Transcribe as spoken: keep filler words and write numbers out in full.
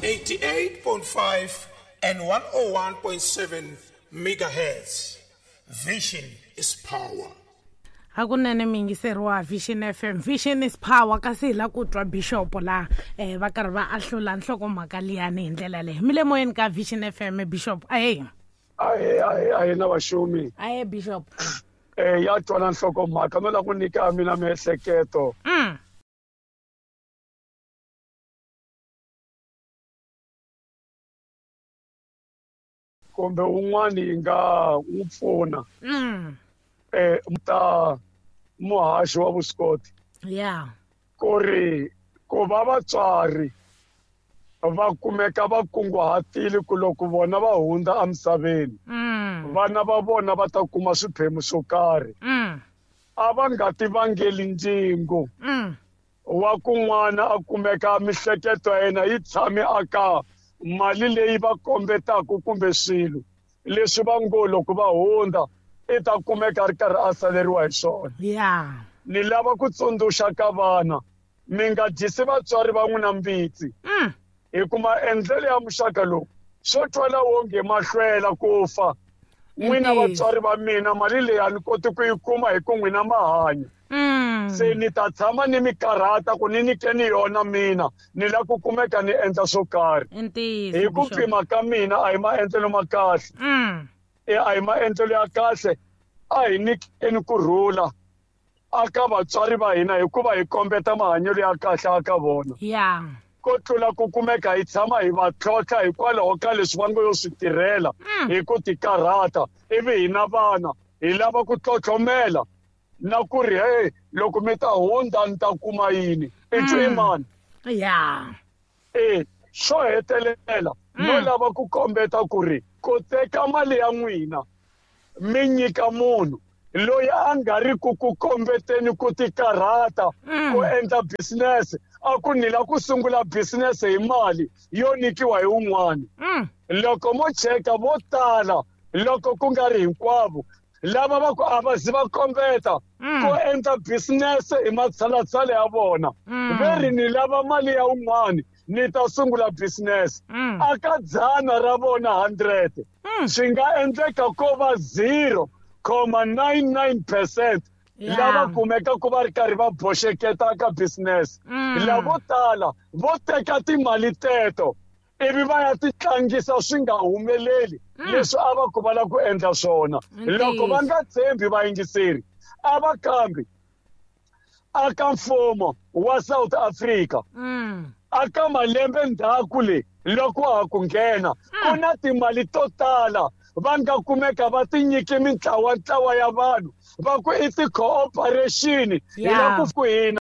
eighty-eight point five and one oh one point seven megahertz. Vision is power. Hakunene mi yingiseriwa Vision F M. Vision is power kasi hi la ku twa Bishop la eh va karhi va ahlula nhlokomhaka liyani hi ndlela leyi. Mi le moyeni ka Vision F M Bishop. Ahee. Ahee, ahee, ahee na vaxumi. Ahee Bishop. Eh ya twana nhlokomhaka no la ku nyika mina miehleketo. Mm. Kumbe un'wani yi nga n'wi pfuna. Mm. Eh ta muhaxi wa vuswikoti. Yeah. Ku ri ku va vatswari va kumeka va kunguhatile ku loko vona va hundza emisaveni. Mm. Vana va vona va ta kuma swiphemu swo karhi. Mm. A va nga ti vangeli ndzingo. Mm. Wa ku n'wana a kumeka mihleketo ya yena yi tshame aka mali leyi va kombetaka kumbe swilo leswi va ngo loko va hundza i ta kumeka a ri karhi a saleriwa hi swona. Yeah. Ni lava ku tsundzuxa ka vana mi nga dyisi vatswari va n'wina mbitsi. Mm. Hi ku maendlelo ya muxaka lowu swo twala wonge ma hlwela ku fa. N'wina vatswari va mina mali leyi a ni koti ku yi kuma hi ku n'wina ma hanya. Mm. Se ni ta tshama ni mi karhata ku ni nyikeni yona mina ni la ku kumeka ni endla swo karhi. Ntiyiso. Hi ku pima ka mina a hi maendlelo ma kahle. Mm. E a hi maendlelo ya kahle a hi nyikeni kurhula aka vatswari va hina hikuva hi kombeta mahanyelo ya kahle aka vona. Yeah. Ko tlula ku kumeka hi tshama hi va tlhontlha hikwalaho ka leswi va ngo yo swi tirhela hi ku tikarhata ivi hina vana hi lava ku tlhotlhomela na ku ri hey loko mi ta hundza ni ta kuma yini i twi i mani. Yeah. E xo hetelela no lava ku kombeta ku ri ku teka mali ya n'wina mi nyika munhu loyi a nga ri ku ku kombeteni ku tikarhata ku endla business a ku ni la ku sungula business hi mali yo nyikiwa hi un'wana. Loko mo cheka vo tala loko ku nga ri hinkwavo lava va ku a va zi va kombeta ku endla business hi matshalatshala ya vona ve ri ni lava mali ya un'wana ni ta sungula business aka dzana ra vona hundred swi nga endleka ko va zero comma nine nine percent lava kumeka ku va ri karhi va boxeketa ka business. Lavo tala vo teka timali teto ivi va ya ti tlangisa swi nga humeleli leswi a va ku va lava ku endla swona. Loko va nga tshembi vayingiseri a va kambi aka mfumo wa South Africa aka malembe ndzhaku le loko wa ha ku nghena ku na timali to tala va nga kumeka va ti nyike mintlawa ntlawa ya vanhu va ku i ti-cooperation hi la ku ku hina.